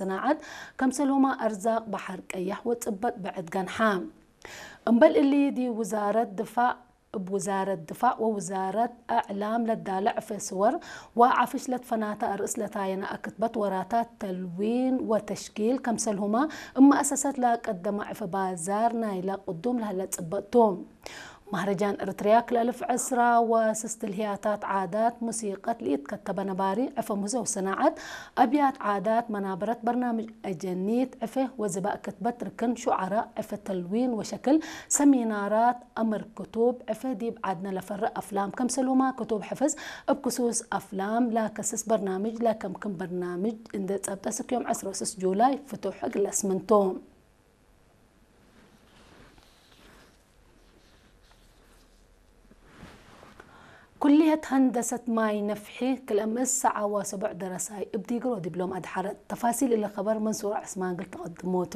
ሰናዓት ከምሰልሁማ ኣርዛቅ ባሕር ቀያሕ ወጽበጥ ብዕድ ገንሓ። እምበል እሊ ዲ ውዛረት ድፋዕ እብ ውዛረት ድፋዕ ወውዛረት ኣዕላም ለዳለ ዕፌ ስወር ወዓፍሽ ለትፈናተ ኣርእስ ለታየና ኣክትበት ወራታት ተልዊን ወተሽኪል ከምሰልሁማ እማእሰሰት ለቀደማ ዕፌ ባዛር ናይለ ቅዱም ለህለ ጽበጥቱ። ማህረጃን እርትርያ ክልእልፍ ዕስራ ወስስት ልህያታት ዓዳት ሙሲቀት ልኢት ከተበ ነባሪ ዕፌ ሙህዘው ሰናዓት ኣብያት ዓዳት መናበረት በርናምጅ ኣጀኒት ዕፌ ወዝባእ ክትበት ርክን ሹዓራ ዕፌ ተልዊን ወሸክል ሰሚናራት ኣምር ክቱብ ዕፌ ዲብ ዓድነ ለፈርእ ኣፍላም ከምሰሉማ ክቱብ ሕፍዝ እብ ክሱስ ኣፍላም ላከስስ በርናምጅ ለከምክም በርናምጅ እንደ ጸብጠ ስክዮም ዕስራ ወስስ ጁላይ ፍቱሕ እግለስ ምንቱ። ኩልየት ሀንደሰት ማይ ነፍሒ ክልእምእስ ሰዓ ወሰቡዕ ደረሳይ እብ ዲግሮ ዲብሎም ኣድሓረት። ተፋሲል እለ ኸበር መንሱር ዕስማን ግል ተቐድሞቶ።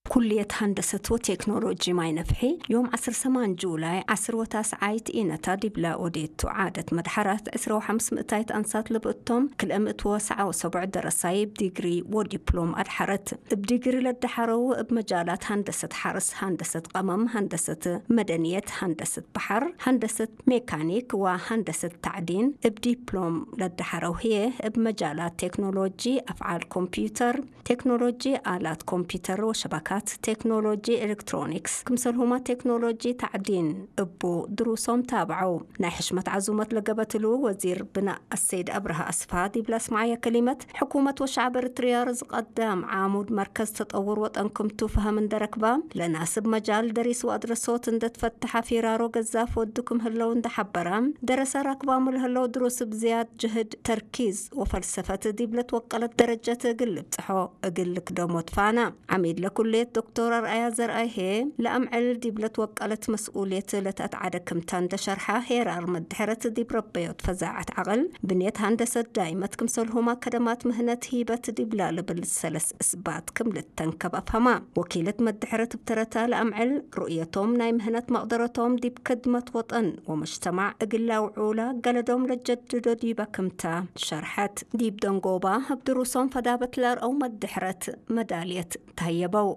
ኩልየት ሃንደሰት ወቴክኖሎጂ ማይ ነፍሒ ዮም ዓስር ሰማን ጁላይ ዓስር ወታስዓይት ኢነታ ዲብላ ኦዴቱ ዓደት መድሓራት ዕስራ ወሓምስ ምእታይት ኣንሳት ልብእቶም ክልእምእት ወሰዓ ወሰቡዕ ደረሳይ እብ ዲግሪ ወዲፕሎም ኣድሓረት። እብ ዲግሪ ለደሓረው እብ መጃላት ሃንደሰት ሓርስ፣ ሃንደሰት ቀመም፣ ሃንደሰት መደንየት፣ ሃንደሰት በሓር፣ ሃንደሰት ሜካኒክ ወሃንደሰት ታዕዲን እብ ዲፕሎም ለደሓረው ህዬ እብ መጃላት ቴክኖሎጂ ኣፍዓል ኮምፒውተር፣ ቴክኖሎጂ ኣላት ኮምፒውተር ወሸባካት፣ ቴክኖሎጂ ኤሌክትሮኒክስ፣ ክምሰልሁማ ቴክኖሎጂ ታዕዲን እቡ ድሩሶም ታብዐው። ናይ ሕሽመት ዓዙመት ለገበትሉ ወዚር ብናእ ኣሰይድ ኣብርሃ ኣስፋ ዲብላ ስምዓያ ከሊመት፣ ሕኩመት ወሸዕብ ኤርትርያ ርዝቀዳም ዓሙድ መርከዝ ተጠውር ወጠን ክምቱ ፈሀም እንደረክባ፣ ለናስብ መጃል ደሪስ ወኣድረሶት እንደትፈትሐ ፊራሮ ገዛፍ ወዱ ክም ህለው እንደሓበራ፣ ደረሰ ራክባሙ ለህለው ድሩስ ብዝያድ ጅህድ ተርኪዝ ወፈልሰፈት ዲብለት ወቀለት ደረጀት እግል ልብጽሖ እግል ልክደሞ ትፋና። ዓሚድ ለኩሌት ዶክተር ኣርኣያ ዘርኣይሄ ለኣምዕል ዲብለት ወቀለት መስኡልየት ለተኣትዓደ ክምታ እንደሸርሓ ሄራር መድሕረት ዲብ ረበዮት ፈዛዓት ዓቕል ብንየት ሃንደሰት ዳይመት ክምሰልሁማ ከደማት ምህነት ሂበት ዲብላ ልብል ሰለስ እስባት ክም ልተንከብ ኣፍሀማ። ወኪለት መድሕረት ብተረታ ለኣምዕል ርእየቶም ናይ ምህነት መቕደረቶም ዲብ ክድመት ወጠን ወመጅተማዕ እግል ለውዑላ ገለዶም ለጀድዶ ዲበ ክምታ ሸርሐት። ዲብ ደንጎባ እብ ድሩሶም ፈዳበት ለርአው መድሕረት መዳልየት ተህየበው።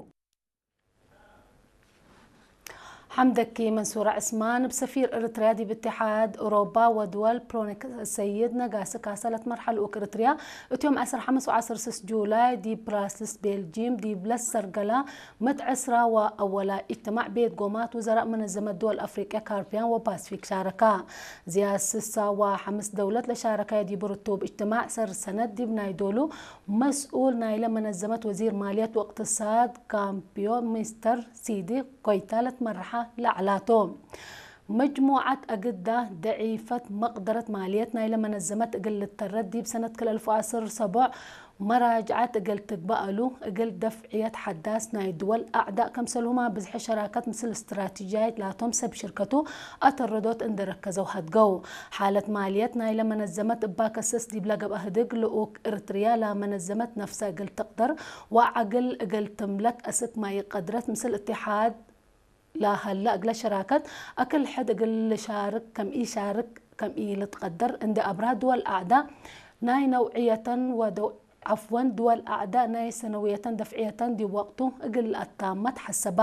ሓምደኪ መንሱራ ዕስማን እብ ሰፊር እርትርያ ዲብ እትሓድ ኡሮባ ወድወል ፕሮኔክ ሰይድ ነጋሲ ካሳ ለትመርሓ ልኡክ እርትርያ እትዮም ዓሰርተ ሓሙሽተ ወዓሰርተ ስስ ጁላይ ዲብ ብራስልስ ቤልጂም ዲብ ለሰርገላ ምት ዕስራ ወአወላ እጅትማዕ ቤት ጎማት ውዘራእ መነዘመት ድወል ኣፍሪቅያ ካርቢያን ወፓስፊክ ሻረካ። ዝያድ ስሳ ወሓምስ ደውለት ለሻረካዮ ዲብ ርቱብ እጅትማዕ ሰር ሰነት ዲብ ናይ ዶሉ መስኡል ናይለ መነዘመት ወዚር ማልየት ወእቅትሳድ ካምፒዮ ሚስተር ሲዲ ኮይታ ለትመርሓ ለዓላቶ። መጅሙዓት ኣግዳ ደዒፈት መቅደረት ማልየት ናይለ መነዘመት እግል ልተረት ዲብ ሰነት ክልተ ኣልፍ ወዓሰርተ ሰቡዕ መራጅዓት እግል ትግባእ እሉ እግል ደፍዕየት ሓዳስ ናይ ድወል ኣዕዳእ ከምሰልሁማ ብዝሐ ሸራከት ምስል ስትራቲጂያይት ላቶም ሰብ ሽርከቱ ኣተረዶት እንደረከዘው ሀድገው። ሓለት ማልየት ናይለ መነዘመት እባ ከሰስ ዲብለ ገብአ ህድግ ልኡክ እርትርያ ላ መነዘመት ነፍሰ እግል ትቅደር ወዓግል እግል ትምለክ እስክ ማይ ቀድረት ምስል እትሓድ ላሀለ እግለ ሸራከት ኣክል ሕድ እግል ልሻርክ ከም ኢሻርክ ከም ኢልትቀደር እንዴ ኣብራ ድወል ኣዕዳ ናይ ነውዕየተን ወደ ዓፍወን ድወል ኣዕዳ ናይ ሰነውየተን ደፍዕየተን ዲብ ወቅቱ እግል ኣታመት ሐሰባ።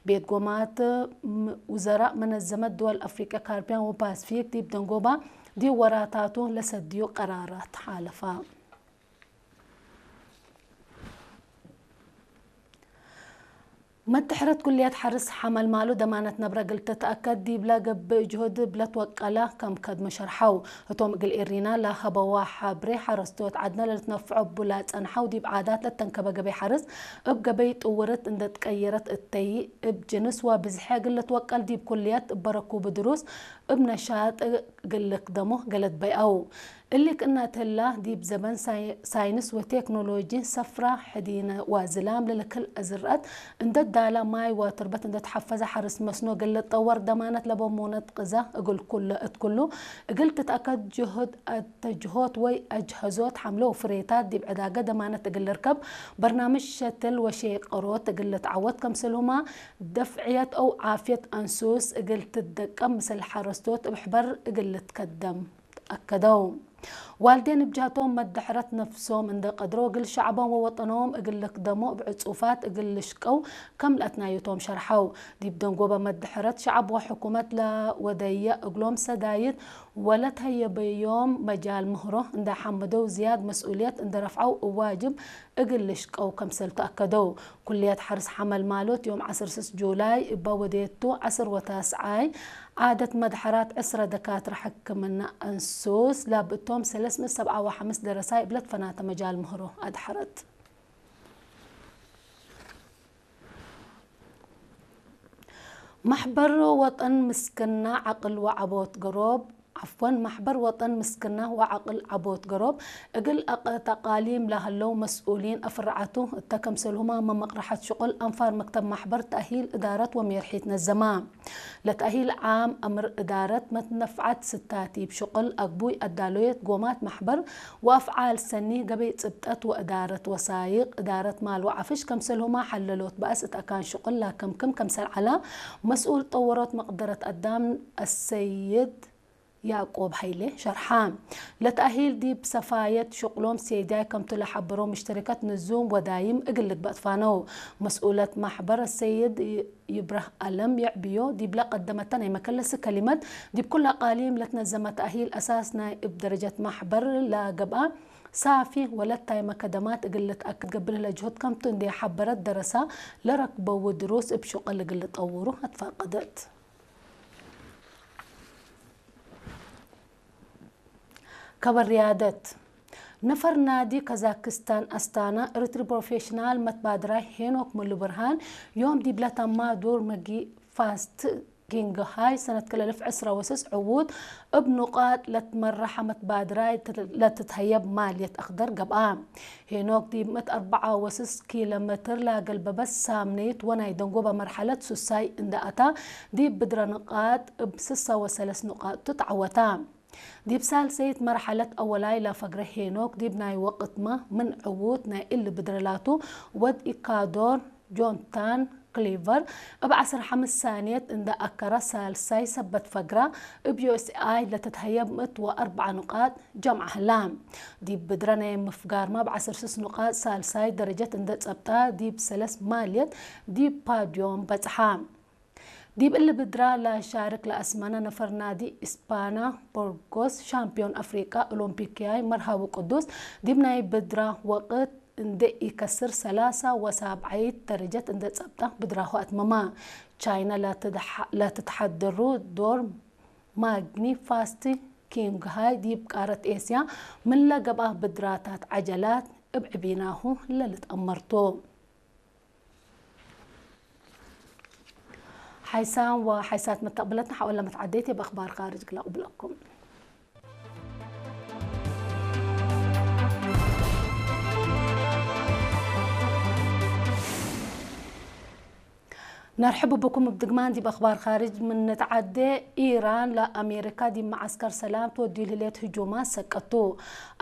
ቤት ጎማት ውዘራእ መነዘመት ድወል ኣፍሪቅያ ካርቢያን ወፓስፊክ ዲብ ደንጎባ ዲብ ወራታቱ ለሰድዩ ቀራራት ሓለፋ። መድሕረት ኩልየት ሐርስ ሐመልማሉ ደማነት ነብረ እግል ትትአከድ ዲብለ ገብእ ጅሁድ እብ ለትወቀለ ከም ከድሞ ሸርሐው። ህቶም እግል ኤሪና ለሀበዋ ሐብሬ ሐረስቶት ዐድነ ለልትነፍዖ እቡ ለጸንሐው ዲብ ዓዳት ለተንከበ ገበይ ሐርስ እብ ገበይ ጥውርት እንደ ትቀየረት እተይ እብ ጅንስ ወብዝሐ እግል ልትወቀል ዲብ ኩልየት እበ ረኩቡ ድሩስ እብ ነሻጥ እግል ልክደሞ ገለት በይአው። እሊ ክእነት ህላ፣ ዲብ ዘበን ሳይ-፣ ሳይንስ ወቴክኖሎጂ፣ ሰፍራ፣ ሕዲነ ወዝላም ለልክል እዝርአት እንደ ዳላ፣ ማይ ወትርበት እንደ ተሐፈዘ፣ ሐርስ መስኖ እግል ልጠወር ደማነት ለበ ሙነት ቅዛ እግል ኩለ እት ኩሉ እግል ትትአከድ ጅሁድ አተጅሆት ወይ አጅሀዞት ሐምለ ወፍሬታት ዲብ ዕዳገ ደማነት እግል ልርከብ በርናምጅ ሸትል ወሼቀሮት እግል ልትዓወት ከምስልሁማ ደፍዕየት አው ዓፍየት አንሱስ እግል ትትደቀም ምስል ሐረስቶት እብ ሕበር እግል ልትከደም። ኣከደው። ዋልዴን እብጃቶም መድሕረት ነፍሶም እንደ ቀድሮ እግል ሸዕቦም ወወጠኖም እግል ልክደሞ እብ ዕጹፋት እግል ልሽቀው ከም ለአትናዩቶም ሸርሐው። ዲብ ደንጎበ መድሕረት ሸዕብ ወሕኩመት ለወደየ እግሎም ሰዳይት ወለተየበዮም መጃል ምህሮ እንደ ሐመደው ዝያድ መስኡልየት እንደ ረፍዐው እዋጅብ እግል ልሽቀው ከምሰልቱ አከደው። ኩልየት ሐርስ ሐመል ማሎት ዮም ዐስር ስስ ጁላይ እባ ወዴቱ ዐስር ወታስዓይ ዓደት መድሐራት ዕስረ ደካትረ ሕክምና እንሱስ ላብእቶም ሰለስ ምእት ሰብዓ ወሐምስ ደረሳይ እብለት ፈናተ መጃል ምህሮ አድሐረት። ማሕበር ወጠን ምስክና ዓቅል ወዓቦት ገሮብ ዓፍወን፣ ማሕበር ወጠን ምስክና ወዓቅል ዓቦት ገሮብ እግል አቀ-፣ ተቃሊም ላህለው መስኡሊን አፍርዓቱ እተ ከምሰልሁማ መመቅረሐት ሽቁል አንፋር መክተብ ማሕበር ተእሂል እዳረት ወሜርሒት ነዘማ። ለተእሂል ዓም አምር እዳረት መትነፍዓት ስታቲብ ሽቁል አግቡይ አዳሎየት ጎማት ማሕበር ወአፍዓል ሰኒ ገበይ ጽብጠት ወእዳረት ወሳይቅ እዳረት ማል ወዓፍሽ ከምሰልሁማ ሐለሎት በአስ እት አካን ሽቁል ላከምክም ከምሰል ዐላ መስኡል ጠወሮት መቅደረት አዳም አሰይድ ያዕቆብ ሃይሌ ሸርሓ። ለተእሂል ዲብ ሰፋየት ሽቁሎም ሴዳይ ከምቱ ለሐበሮ ምሽተሪከት ንዙም ወዳይም እግል ልግበእ ትፋነው። መስኡለት ማሕበር ሰይድ ይብራህ አለም የዕብዮ ዲብለ ቀደመተ ናይ መከለሲ ከሊመት ዲብ ኩሉ አቃሊም ለትነዘመ ተእሂል አሳስ ናይ እብ ደረጀት ማሕበር ለገብአ ሳፊ ወለታይ መከደማት እግል ልትአክድ ገብር ለጅሁድ ከምቱ እንዴ ሐበረት ደረሳ ለረክበው ድሩስ እብ ሽቁል እግል ልጠውሩ አትፋቀደት። ከበር ሪያደት። ነፈር ናዲ ካዛክስታን አስታና ኤሪትሪ ፕሮፌሽናል መትባድራይ ሄኖክ ሙሉ ብርሃን ዮም ዲብለ ተማ ዱር መጊ ፋስት ኪንግ ሃይ ሰነት ክልተ አልፍ ዕስራ ወስስ ዕዉት እብ ኑቃጥ ለትመረሐ መትባድራይ ለትትሀየብ ማልየት አክደር ገብአ። ሄኖክ ዲብ ምእት አርበዓ ወስስ ኪሎ ሜትር ላገልበበት ሳምነይት ወናይ ደንጎበ መርሐለት ሱሳይ እንደ አታ ዲብ ብድረ ንቃጥ እብ ስሳ ወሰለስ ንቃጥ ቱ ተዐወታ። ዲብ ሳልሰይት መርሐለት አወላይ ላፈግረ ሄኖክ ዲብ ናይ ወቅትመ ምን ዕዉት ናይ እሊ ብድረ ላቱ ወድ ኢካዶር ጆንታን ክሊቨር እብ ዐስር ሐምስ ሳንየት እንደ አከረ ሳልሳይ ሰበት ፈግራ እብ ዩ ኤስ ኤ አይ ለትትሀየብ ምእት ወአርበዓ ንቃጥ ጀምዓ ህላ። ዲብ ብድረ ናይ ምፍጋርማ እብ ዐስር ስስ ንቃጥ ሳልሳይ ደረጀት እንደ ጸብጣ ዲብ ሰለስ ማልየት ዲብ ፓድዮም በጽሓ። ዲብ እሊ ብድራ ለሻርክ ለአስመነ ነፈር ናዲ እስፓና ቦርጎስ ሻምፒዮን አፍሪቃ ኦሎምፒክያይ መርሃዊ ቅዱስ ዲብ ናይ ብድራ ወቅት እንደ ኢከስር ሰላሳ ወሳብዓይት ደረጀት እንደ ጸብጣ ብድራሁ አትመማ። ቻይና ለትትሐድሩ ዶር ማግኒ ፋስት ኪንግ ሃይ ዲብ ቃረት ኤስያ ምን ለገብአ ብድራታት ዐጀላት እብ ዕቢናሁ ለልትአመርቱ። ሓይሳን ወሓይሳት መተቕብለትና ሓወላ መትዓደይቲ ብኣኽባር ካርጅ ክላቕብለኩም። ነርሕብ ብኩም ብድግማን ዲብ ኣኽባር ኻርጅ ምን ንትዓዴ። ኢራን ለኣሜሪካ ዲብ መዓስከር ሰላም ትወድዩ ልህሌት ህጁማት ሰቀቱ።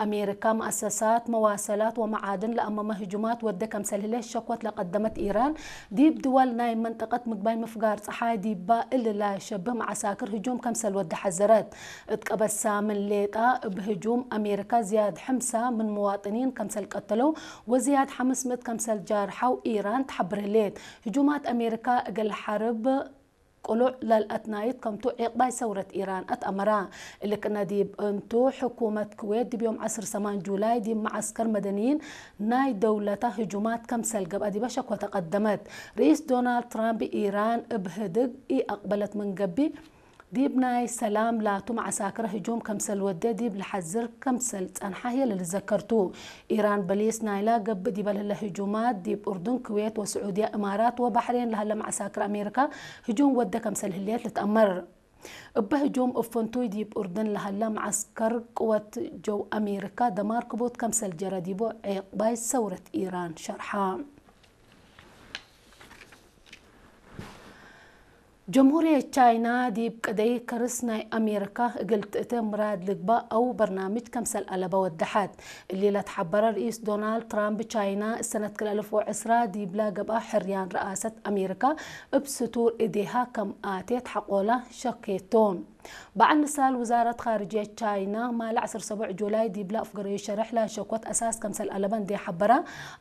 ኣሜሪካ መኣሰሳት መዋሰላት ወመዓድን ለኣመመ ህጁማት ወደ ከምሰል ህሌት ሸኮት ለቀደመት ኢራን፣ ዲብ ድወል ናይ መንጠቀት ምግባይ ምፍጋር ጸሓይ ዲባ እሊ ለሸብህ መዓሳክር ህጁም ከምሰል ወደ ሐዘረት። እት ቀበሳ ምን ሌጣ እብ ህጁም ኣሜሪካ ዝያድ ሕምሳ ምን መዋጥኒን ከምሰል ቀተለው ወዝያድ ሐምስ ምእት ከምሰል ጃርሐው ኢራን ተሐብር ህሌት። ህጁማት ኣሜሪካ እግል ሐርብ ቅሉዕ ለልአትናይት ከምቱ ዒቅባይ ሰውረት ኢራን አትአመራ። እሊ ቅነ ዲብ እንቱ ሕኩመት ክዌት ዲብ ዮም ዐስር ሰማን ጁላይ ዲብ መዓስከር መደንይን ናይ ደውለታ ህጁማት ከምሰል ገብአ ዲበ ሸኮ ተቀደመት። ርኢስ ዶናልድ ትራምፕ ኢራን እብ ህድግ ኢአቅበለት ምን ገብእ፣ ዲብ ናይ ሰላም ላቱ መዓሳክር ህጁም ከምሰል ወደ ዲብ ለሐዝር ከምሰል ጸንሐ ህየ ለልዘከርቱ። ኢራን በሊስ ናይላ ገብእ ዲበ ለህለ ህጁማት ዲብ ኡርዱን፣ ክዌት ወስዑድያ፣ እማራት ወባሕሬን ለሀለ መዓሳክር ኣሜሪካ ህጁም ወደ ከምሰል ህሌት ልትአመር። እበ ህጁም እብ ፍንቱይ ዲብ ኡርዱን ለሀለ መዓስከር ቅወት ጀው ኣሜሪካ ደማር ክቡት ከምሰል ጀረ ዲቡ ዒቅባይ ሰውረት ኢራን ሸርሐ። ጀምሁርየት ቻይና ዲብ ቅደይ ከርስ ናይ ኣሜሪካ እግል ትእተ ምራድ ልግባእ አው በርናምጅ ከምሰል አለበ ወደሐት። እሊ ለትሐበረ ርኢስ ዶናልድ ትራምፕ ቻይና እሰነት ክልተ አልፍ ወዕስራ ዲብላ ገብአ ሕርያን ረአሰት ኣሜሪካ እብ ስቱር እዴሃ ከም አቴት ሐቆላ ሸኬቶ። በዓል ንሳል ውዛረት ኻርጅያ ቻይና ማል ዓሰርተ ሰቡዕ ጁላይ ዲብላ ኣፍገረዩ ሸርሕ ላሸኮት ኣሳስ ከምሰል ኣለበን ዲ ሓበራ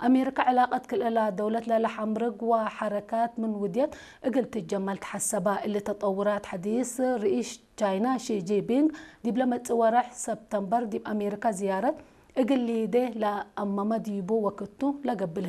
ኣሜሪካ ዕላቀት ክልእላ ደውለት ለላ ሓምርግ ወሓረካት ምን ውድየት እግል ትጀመል ተሓሰባ። እሊ ተጠውራት ሓዲስ ርኢሽ ቻይና ሺ ጂንፒንግ ዲብለ መጽእ ወርሕ ሰፕተምበር ዲብ ኣሜሪካ ዝያረት እግል ሊዴ ለኣመመ ዲቡ ወክቱ ለገብለ